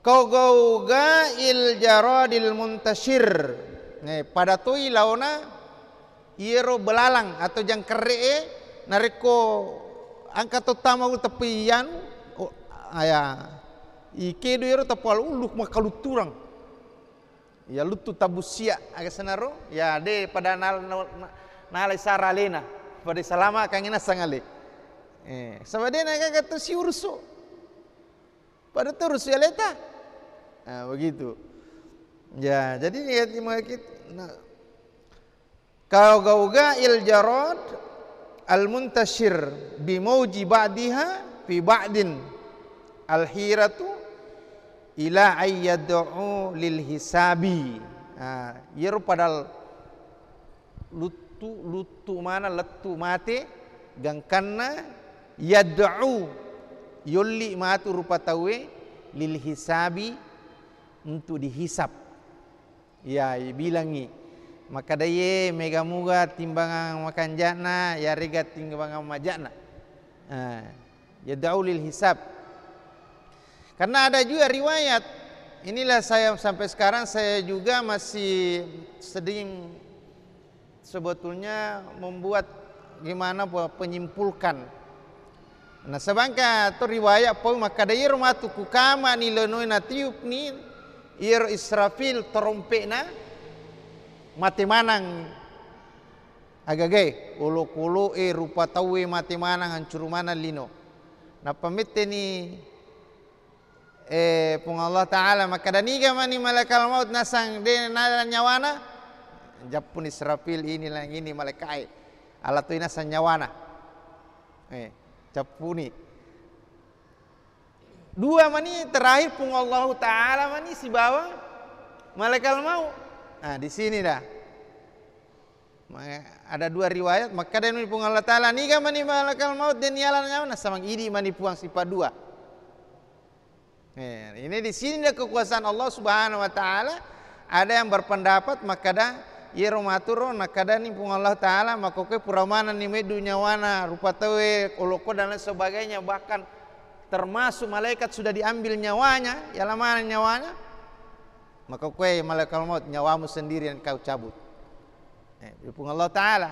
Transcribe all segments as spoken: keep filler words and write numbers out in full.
Kau gauga il jaradil muntashir. Eh, pada toi laona iyaro belalang atau jangkerre'e, narekko engka to tama ulu teppi anu, oh, aya, ikedo iyaro teppa ulu makkalutturang. Ya luttu tabussia aga senaro, ya de pada nal-, nal-, nalai sara alena, pada salama kangi nasang ale. Eh, saba de na gaga to siurusu. Pada terus ya leta. Nah, begitu. Ya, jadi niat, nah, kau gauga il jarad al muntashir bi mauji ba'diha fi ba'din al hiratu ila ay yad'u lil hisabi. Nah, iyaro padal luttu, luttu mana lettu mate, gangkanna yad'u, yolli matu rupa tauwe, lil hisabi, untuk dihisab. Ya, ibilangngi. Makkada iye mega muga timbangan makanja'na, yarega timbangan maja'na. Ah, yad'u lil hisab. Karena ada juga riwayat, inilah saya sampai sekarang saya juga masih sedang sebetulnya membuat gimana pe-, penyimpulkan. Nah, sebangka to riwayat pau makkada iyaro matu kukamani linoe natiupni iyaro Israfil terompekna, mate manang agagae, olokoloe, rupa tauwe mate manang, hancuru manang lino. Nappa metteni, eh, Puang Allah Ta'ala makkada, "Niga mani malaikat maut nasang de nala nyawana?" Jappuni Israfil, "Inilah, ini malaikae. Ala toi nasang nyawana." Eh, cappuni. Dua mani terakhir Puang Allahu Ta'ala mani sibawa malaikat maut. Nah, di sini dah. Ma-, ada dua riwayat, makkadani Puang Allah Ta'ala, "Niga mani malaikat maut de niala nyawana?" Samang idi mani Puang sifat dua. Eh, ini di sini ada kekuasaan Allah Subhanahu wa Ta'ala. Ada yang berpendapat makkada iyaro maturo nakkadani Puang Allah Ta'ala, makkokkoe pura manenni meddu nyawana rupa tauwe, olokko dan lain sebagainya, bahkan termasuk malaikat sudah diambil nyawanya, yala maneng nyawanya, makkokkoe malaikat maut, "Nyawamu sendiri yang kau cabut." Eh, Puang Allah Ta'ala.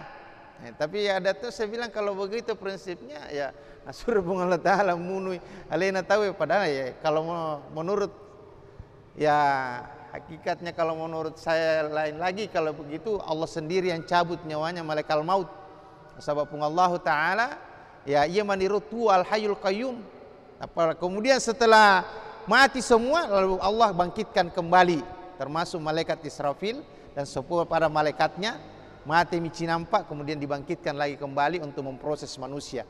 Eh, tapi ada tuh saya bilang, kalau begitu prinsipnya, ya, nasuruh Puang Allah Ta'ala munui alena tauwe. Padahal, ya, kalau mau, menurut, ya, hakikatnya kalau menurut saya lain lagi. Kalau begitu, Allah sendiri yang cabut nyawanya malaikat maut. Sebab Puang Allah Ta'ala, ya, iya maniru tu Al Hayyul Qayyum. Apa, kemudian setelah mati semua, lalu Allah bangkitkan kembali, termasuk malaikat Israfil dan sepuluh pada malaikatnya, mati micinampak, kemudian dibangkitkan lagi kembali untuk memproses manusia.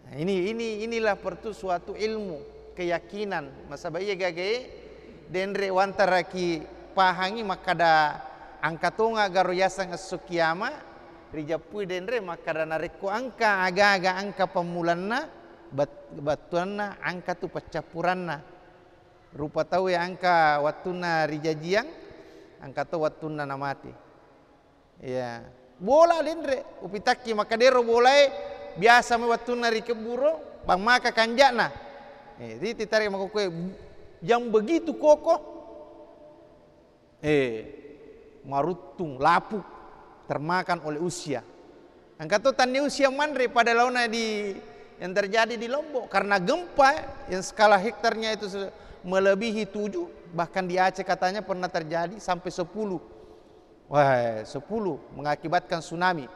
Nah, ini, ini, inilah pertu suatu ilmu, keyakinan. Nasaba iya gagae denre wantaraki pahangi makkada engka tonga garo yaseng esso kiama, rijappui denre makkada narekko engka aga-aga engka pammulanna, bat-, battuanna engka tu paccappuranna. Rupa tauwe engka wattunna rijajiang, engka to wattunna namate. Iya. Bola denre, upitakki makkadero bolae biasa mai wattunna rikebburo, bang maka kanja'na. Eh, jadi titarik makkokkoe yang begitu kokoh. Eh, maruttung, lapuk, termakan oleh usia. Engka to tanni usia manre pada laona di, yang terjadi di Lombok karena gempa yang skala hektarnya itu se-, melebihi tujuh, bahkan di Aceh katanya pernah terjadi sampai sepuluh. Wah, sepuluh mengakibatkan tsunami.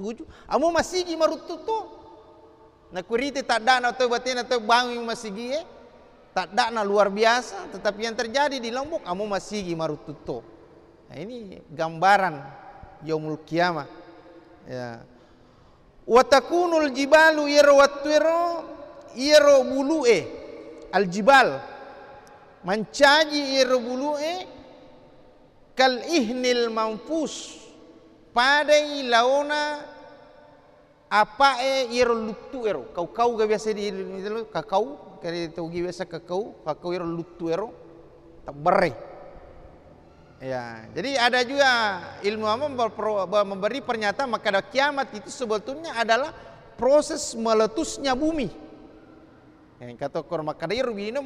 Tujuh, amo masigi maruttu to. Nakurite taddana to batena to bangun masigie, taddana luar biasa, tetapi yang terjadi di Lombok, amo masigi maruttu to. Nah, ini gambaran yaumul qiyamah. Ya. Wa takunul jibalu, iyaro wattuero, iyaro bulue, al jibal, mancaji iyaro bulue, kal ihnil manfus, padai laona apae iyaro luttuero, kau-kau ga biasa di, di, kakau, kare tau gi biasa kakau, kakau iyaro luttuero, tabberre. Ya, jadi ada juga ilmu apa berpro-, ber-, memberi pernyataan makkada kiamat itu sebetulnya adalah proses meletusnya bumi. Yang kata kor makkada iyaro bino